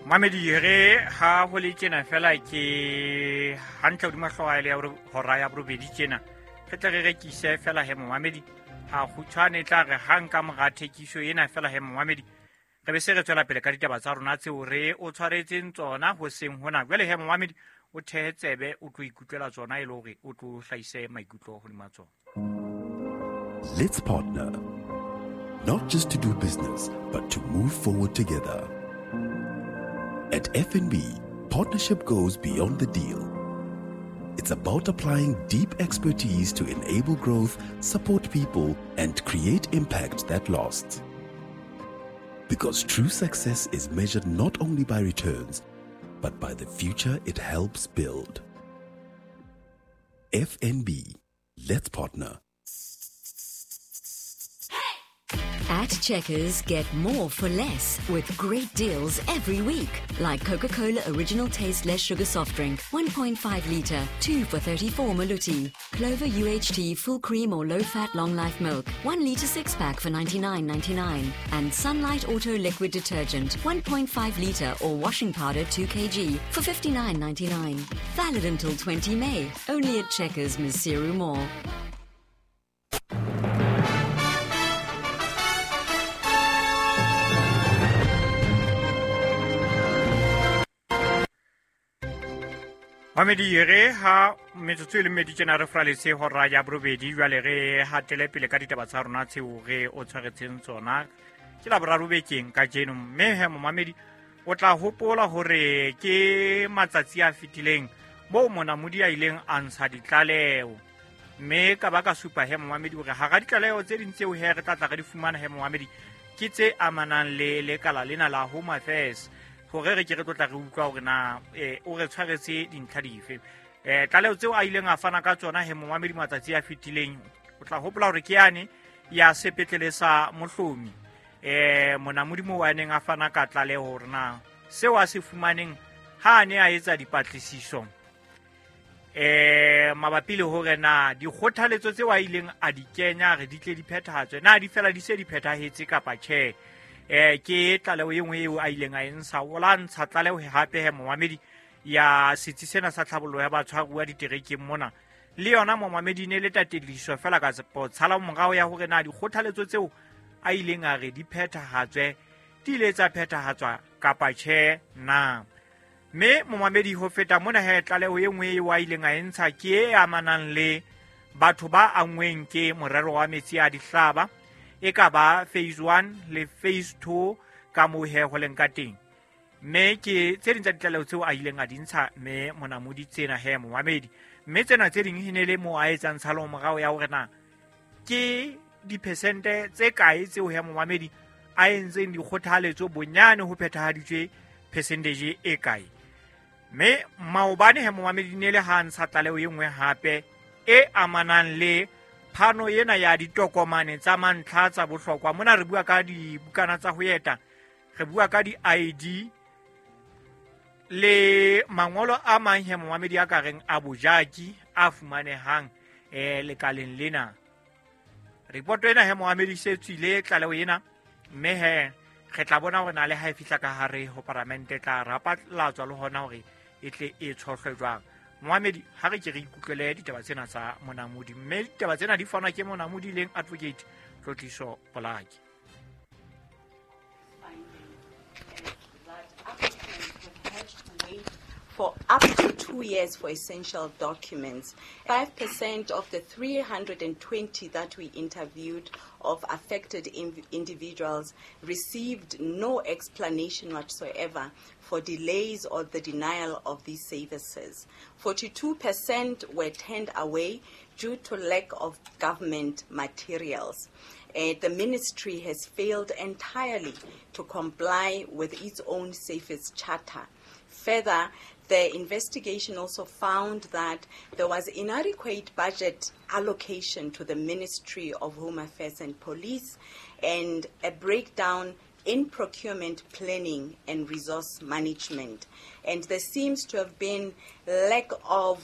Mamedi re ha ho le tjena fela ke hantle hodima hlooho ya hora ya borobedi tjena re tle re rekise fela he momamedi ha kgutshwane tla re hang ka mora thekiso ena fela he momamedi re be se re tswela pele ka ditaba tsa rona tseo re o tshwaretseng tsona hoseng hona jwale he momamedi o thehe tsebe o tlo ikutlwela tsona e le hore o tlo hlahise maikutlo hodima tsona. Let's partner, not just to do business, but to move forward together. At FNB, partnership goes beyond the deal. It's about applying deep expertise to enable growth, support people, and create impact that lasts. Because true success is measured not only by returns, but by the future it helps build. FNB, let's partner. At Checkers, get more for less with great deals every week. Like Coca-Cola Original Taste Less Sugar Soft Drink, 1.5 litre, 2 for 34 Maluti. Clover UHT Full Cream or Low Fat Long Life Milk, 1 litre 6-pack for 99.99. And Sunlight Auto Liquid Detergent, 1.5 litre or washing powder 2 kg for 59.99. Valid until 20 May, only at Checkers, Maseru Mall. Mamedi re ha metsotso e le mmedi tjena re fraletse hora ya borobedi jwale re hatele pele ka ditaba tsa rona tseo re o tshwaretseng tsona ke la boraro bekeng kajeno mme he momamedi o tla hopola hore ke matsatsi a fetileng moo monamodi a ileng a ntsha ditlaleho mme ka ba ka supa he momamedi hore hara ditlaleho tse ding tseo he re tla tla re di fumana he momamedi ke tse amanang le lekala lena la Home Affairs hore re ke re tlotla re utlwa hore na o re tshwaretse dintlha dife. Tlaleho tseo a ileng a fana ka tsona he momamedi matsatsi a fetileng o tla hopola hore ke yane ya sepetlele sa Mohlomi monamodi moo a neng a fana ka tlaleho hore na seo a se fumaneng ha a ne a etsa dipatlisiso mabapi le hore na dikgothaletso tseo a ileng a di kenya re di tle di phethahatswe na di fela di se di phethahetse kapa tjhe. Ke tlaleho e nngwe eo a ileng a e ntsha o la ntsha tlaleho hape he momamedi ya setsi sena sa tlhabollo ya batshwaruwa diterekeng mona le yona momamedi ne le tatediso fela ka tshala morao ya hore na dikgothaletso tseo a ileng a re di phethahatswe di ile tsa phethahatswa kapa tjhe na. Mme momamedi ho feta mona he tlaleho e nngwe eo a ileng a e ntsha ke e amanang le batho ba angweng ke morero wa metsi a dihlaba e ka ba phase 1 le phase 2 ka moo he ho leng ka teng mme ke tse ding tsa ditlaleho tseo a ileng a di ntsha mme monamodi tsena he momamedi mme tsena tse ding e ne le moo a etsang tshalo morao ya hore na ke diphesente tse kae tseo he momamedi a entseng dikgothaletso bonyane ho phethahaditswe percentage e kae. Mme maobane he momamedi ne le ha ntsha tlaleho e nngwe hape e amanang le phano ena ya ditokomane tsa mantlha tsa bohlokwa mona re bua ka dibukana tsa ho eta re bua ka di-ID le mangolo a mang he momamedi a ka reng a bojaki a fumanehang lekaleng lena. Ripoto ena he momamedi se tswile tlaleho ena mme he re tla bona hore na le ha e fihla ka hare ho paramente tla rapatlatswa le hona hore e tle e tshohlwe jwang. Momamedi ha re ke re ikutlwele ditaba tsena tsa monamodi mme ditaba tsena di fanwa ke monamodi leng Advocate Tlotliso Polaki. For up to 2 years for essential documents. 5% of the 320 that we interviewed of affected individuals received no explanation whatsoever for delays or the denial of these services. 42% were turned away due to lack of government materials. The ministry has failed entirely to comply with its own service charter. Further, the investigation also found that there was inadequate budget allocation to the Ministry of Home Affairs and Police and a breakdown in procurement planning and resource management. And there seems to have been lack of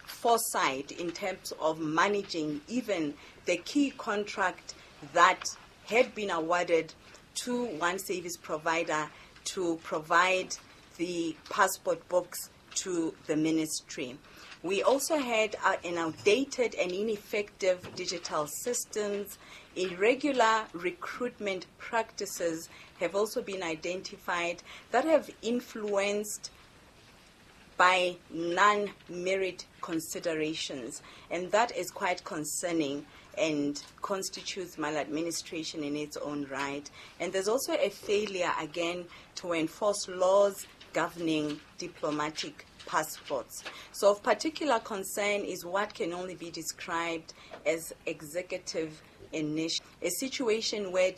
foresight in terms of managing even the key contract that had been awarded to one service provider to provide the passport books to the ministry. We also had an outdated and ineffective digital systems. Irregular recruitment practices have also been identified that have influenced by non-merit considerations, and that is quite concerning and constitutes maladministration in its own right. And there's also a failure, again, to enforce laws governing diplomatic passports. So of particular concern is what can only be described as executive initiative, a situation where